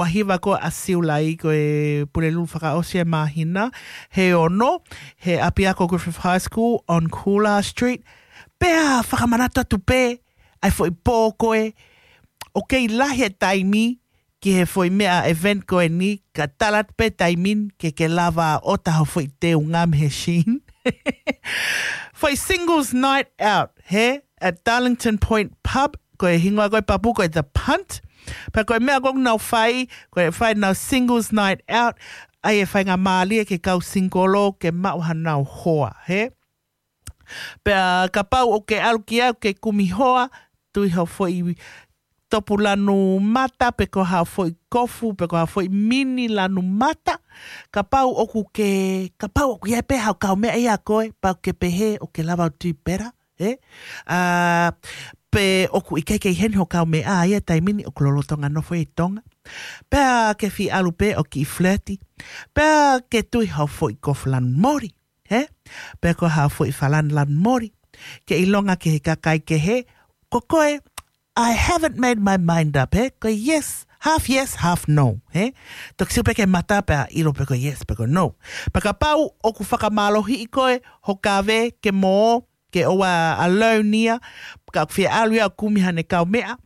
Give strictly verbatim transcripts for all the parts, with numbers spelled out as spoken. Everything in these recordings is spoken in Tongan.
ʻaho hiva ko ē ʻa Siulai, ko e Pulelulu fakaʻosi e māhina, he ono, he ʻapiako Griffith High School on Coolidge Street. Pea fakamanatu atu pē, ʻa e foʻi pō ko ē, ʻoku kei lahi e taimi ki he foʻi meʻa event ko eni, ka tala atu pē taimi ni ke ke lava ʻo ʻota hoʻo foʻi teunga mei he Sheen. Foʻi singles night out, he, at Darlington Point Pub, ko e hingoa ko e papu ko e The Punt. Pea ko e meʻa ko ē ʻoku nau fai, ko e fai ʻenau singles night out, ʻa ia ʻe faingamālie ki he kau singolo ke maʻu hanau hoa, he. Pea kapau ʻoku ke ʻalu ki ai ʻoku ke kumi hoa, tui hoʻo foʻi topu lanu mata, pe ko ha foʻi kofu, pe ko ha foʻi mini lanu mata. Kapau ʻoku ke, kapau ʻoku ʻi ai pē haʻo kaumeʻa ʻia koe, pea ʻoku ke pehē ʻoku ke lava ʻo tui pē, he? ʻA, pe ʻoku ʻikai ke ʻi heni hoʻo kaumeʻa ʻi he taimi ni, ʻoku lolotonga nofo ʻi Tonga. Pea ke fie ʻalu pē ʻo kiʻi flirty. Pea ke tui hoʻo foʻi kofu lanu mori, he? Pe ko ha foʻi falani lanu mori. Ke ʻilonga ki he kakai kehe, ko koe, I haven't made my mind up, he? Ko e yes, half yes, half no, he? Toki sio pē ki he mata pea ʻilo pe ko e yes, pe ko e no. Pea kapau ʻoku fakamālohiʻi koe hoʻo kave ke mō, ke ʻoua ʻe alone ia, ka ʻoku fie ʻalu ia ʻo kumi haʻane kaumeʻa,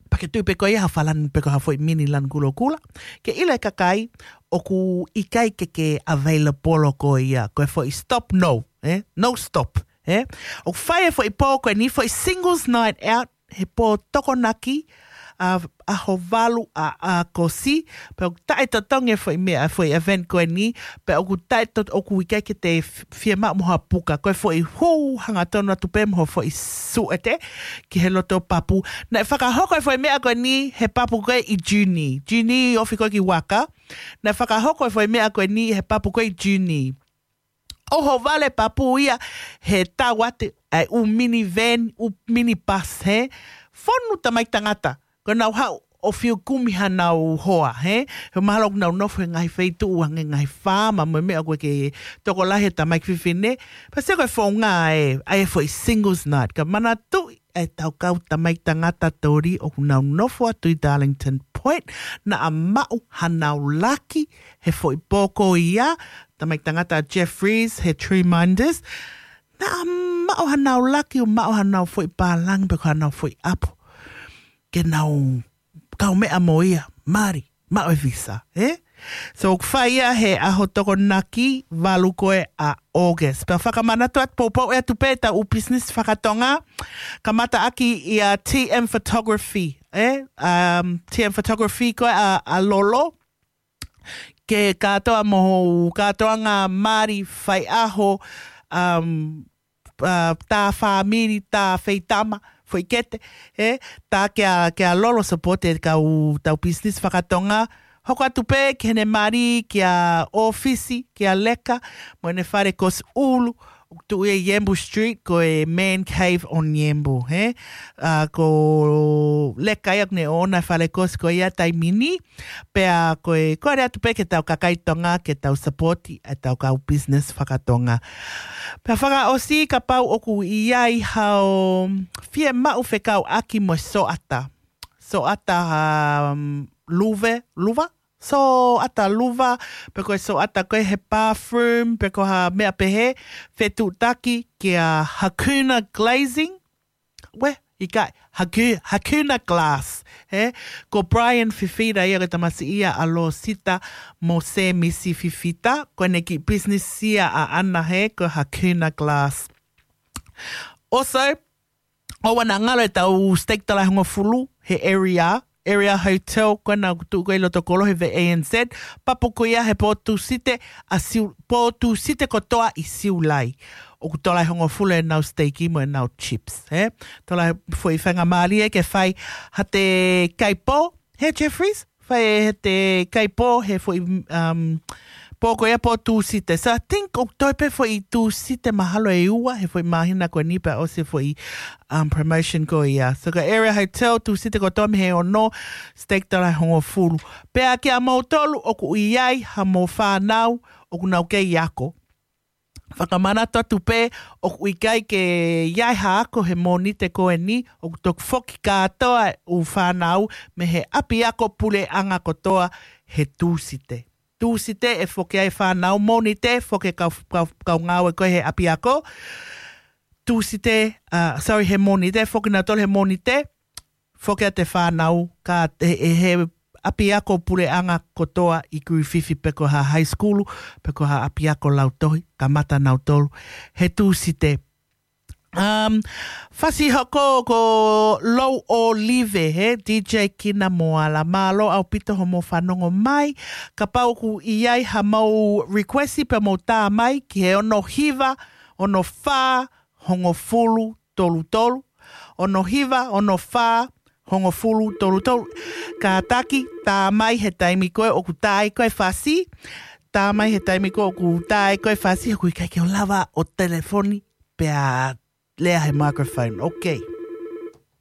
pea ke tui pē ko ia ha falani pe ko ha foʻi mini lanu kulokula. Ke ʻilo e kakai, ʻoku ʻikai ke ke available ko ia, ko e foʻi stop no, eh? No stop, eh? ʻOku fai e foʻi pō ko eni, foʻi singles night out, he pō Tokonaki, ʻa, ʻaho valu ʻa, ʻa ʻAokosi, pea ʻoku taʻetotongi e foʻi meʻa, foʻi event ko eni, pea ʻoku taʻeto-, ʻoku ʻikai ke te f-, fiemaʻu mo ha puka, ko e foʻi hū hangatonu atu pē mo ha foʻi suʻete ki he loto papu. Naʻe fakahoko e foʻi meʻa ko eni he papu ko ē ʻi June. June ofi ko ē ki Waka. Naʻe fakahoko e foʻi meʻa ko eni he papu ko ē ʻi June. ʻOhovale papu ia he tau atu ʻa e ʻū mini van, ʻū mini bus, he. Fonu tamaiki tangata. Ko ʻenau haʻu ʻo fiu kumi hanau hoa, he? He mahalo ʻoku nau nofo he ngaahi feituʻu hangē ngaahi faama mo e meʻa ʻoku ʻikai ke tokolahi e tamaiki fefine. Pea sio ko e founga ē, ʻa e foʻi singles night. Ka manatuʻi ʻa e tau kau tamaiki tangata toli ʻoku nau nofo atu ʻi Darlington Point. Naʻa maʻu hanau laki he foʻi pō ko ia. Tamaiki tangata Jeffries, he Tree Minders. Naʻa maʻu hanau laki ʻo maʻu hanau foʻi pālangi pe ko hanau foʻi ʻapo. Ke nau kaumeʻa mo ia, mali, maʻu e visa, eh? So, ʻoku fai ia he ʻaho Tokonaki valu ko ē ʻa August. Pea fakamanatu atu poupou atu pē ʻetau ʻū business fakatonga. Kamata ʻaki ʻia T M Photography, eh? Um, T M Photography ko ē ʻa, ʻa Lolo. Ke kātoa mo hoʻo kātoanga mali faiʻaho, um, uh, tā fāmili, tā feitama, foʻi kete, he, tā kia, kia Lolo support e kau tau business fakatonga. Hoko atu pē ki heʻene mali, kia ʻŌfisi, kia Leka, mo ʻene fale ko Siulu, ʻoku tuʻu ʻi Yambu Street, ko e Man Cave on Yambu, he? ʻA, ko Leka ia ʻoku ne ʻoʻona e fale ko Siulu ko ia taimi ni, pea ko e, kole atu pē ke tau kakai Tonga, ke tau support ʻa e tau kau business fakatonga. Pea fakaʻosi kapau ʻoku ʻi ai haʻo fiemaʻu fekauʻaki mo e soata. Soata, um, luve, luva? Soata luva, pe ko e soata ko ē he bathroom, pe ko ha meʻa pehē, fetuʻutaki kia Hakuna Glazing. Uē, ʻikai, Haku-, Hakuna Glass, he? Ko Brian Fifita ia ko e tamasiʻi ia ʻa Losita mo Semisi Fifita, ko ʻene kiʻi business ia ʻaʻana he, ko Hakuna Glass. Also, ʻoua naʻa ngalo e tau steak tola ʻe hongofulu, he Area, Area Hotel, ko ena ʻoku tuʻu ko ē ʻi loto kolo he V A N Z, papu ko ia he pō Tūsite, ʻa Siu-, pō Tūsite kotoa ʻi Siulai. ʻOku tola ʻe hongofulu ʻenau steak mo ʻenau chips, he? Tola foʻi faingamālie ke fai ha te kai pō, he Jeffries, fai he te kai pō, he foʻi, um, pō ko ia pō Tūsite. So I think ʻoku toe pē foʻi Tūsite mahalo ʻe ua, he foʻi māhina ko eni pea ʻosi e foʻi, um, promotion ko ia. So ko Area Hotel, Tūsite kotoa mei he ono, steak tola ʻe hongofulu. Pea kia moutolu ʻoku ʻi ai haʻamou fānau, ʻoku nau kei ako. Fakamanatu atu pē, ʻoku ʻikai ke ʻi ai ha ako he Mōnite ko eni, ʻoku toki foki kātoa e ʻū fānau mei he ʻapiako puleʻanga kotoa he Tūsite. Tūsite ʻe foki ai e fānau, Mōnite foki e kau, kau, kau ngāue ko ē he ʻapiako. Tūsite, uh, sorry, he Mōnite foki nautolu he Mōnite, foki atu e fānau, ka he, he, he ʻapiako puleʻanga kotoa ʻi Griffith pe ko ha high school, pe ko ha ʻapiako lautohi, kamata nautolu he Tūsite. Um, fasi hoko ko Lou Olive, he D J Kina Moala. Mālō ʻaupito hoʻomou fanongo mai. Kapau ʻoku ʻi ai haʻamou request pea mou tā mai ki he ono hiva, ono fā, hongofulu, tolu tolu. Ono hiva, ono fā, hongofulu, tolu tolu. Kātaki, tā mai he taimi ko ē ʻoku tā ai koe e fasi. Tā mai he taimi ko ē ʻoku tā ai koe e fasi, ʻoku ʻikai ke u lava ʻo telefoni pea lea he microphone. Ok.